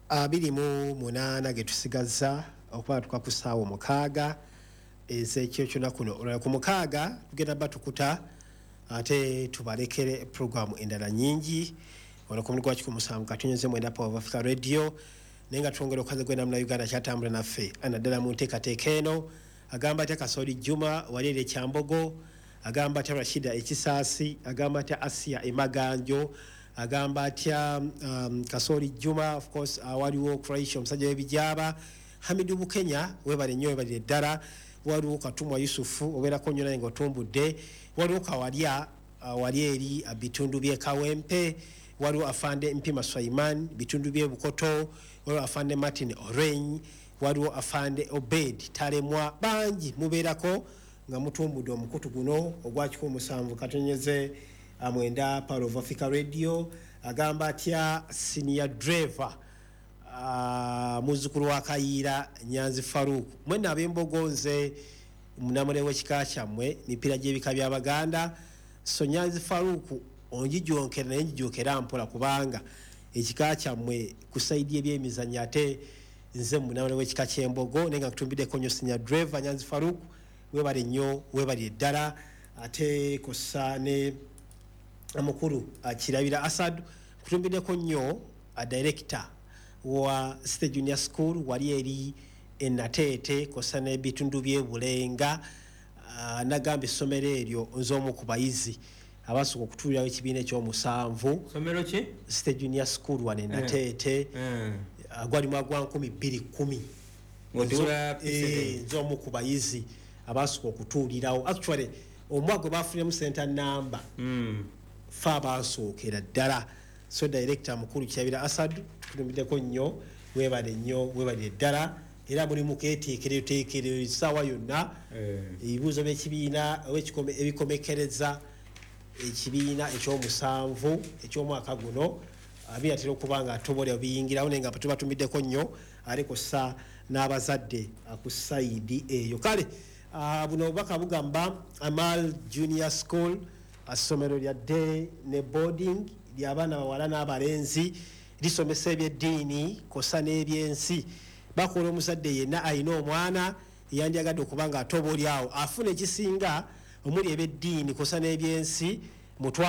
28 ge tusigazza okuba tuka ku ssaawa 6 ez'ekiro kyonna kuno. Olwala ku 6 tugenda batukuta ate tubalekere puroguramu endala nyingi wano ku mulimu gwa 107.9 Power of Africa Radio. Naye nga twongera okukaza gwena muna Uganda kyatambula naffe naddala mu nteekateeka eno. Agamba atya Kasoli Juma wali eri Ekyambogo, agamba atya Rashida Ekisaasi, agamba atya Asia Emaganjo, agamba atya Kasoli Juma, of course waliwo Croatia omusajja w'ebijaaba, Hamidu Bukenya, webale nnyo, webalire ddala. Waliwo Katumwa Yusufu, obeerako nnyo naye ng'otumbudde. Waliwo Kawalya wali eri bitundu by'e Kawempe. Waliwo Afande Mpima Swaiman, bitundu by'e Bukoto. Waliwo Afande Martin Oreny, waliwo Afande Obed Talemwa. Bangi mubeerako nga mutumbudde omukutu guno ogwa 107.9 Power of Africa Radio. Agamba atya senior driver, muzzukulu wa Kayiira Nyanzi Farouk, mwenna ab'Embogo, nze munamule w'ekika kyammwe, mipiira gy'ebika by'Abaganda. So Nyanzi Farouk, onjijonkera naye njijonkera mpola, kubanga ekika kyammwe ku side y'ebyemizannyo ate nze munamule w'ekika ky'Embogo, naye nga nkutumbiddeko nnyo. Senior driver Nyanzi Farouk, webale nnyo, webalire ddala. Ate kossa ne omukulu Kirabira Asad, nkutumbiddeko nnyo, director wa City Junior School wali eri Enateete kossa n'ebitundu by'Ebulenga. Nagamba essomero eryo nze omu ku bayizi abasooka okutuulirawo ekibiina ekyomusanvu. Somero ki? City Junior School wano Enateete. Gwali mwaka gwa 2010. Ng'otuula P7. Nze omu ku bayizi abasooka okutuulirawo. Actually omwaka gwe bafuniremu center number, fe abasookera ddala. So director mukulu Kirabira Asad, tukutumbiddeko nnyo, webale nnyo, webalire ddala. Era muli muketeekereteekerero essaawa yonna ebibuuzo by'ekibiina oba ebikomekereza ekibiina ekyomusanvu ekyomwaka guno binatera okuba nga tobolera biyingirawo, naye nga tubatumiddeko nnyo ate kussa n'abazadde ku side eyo. Kale buno obubaka bugamba Amal Junior School, ssomero lya day ne boarding ly'abaana bawala n'abalenzi, lisomesa ebyeddiini kossa n'ebyensi. Bakola omuzadde yenna alina omwana yandyagadde okuba nga atoba oli awo afuna ekisinga omuli ebyeddiini kossa n'ebyensi mutwale.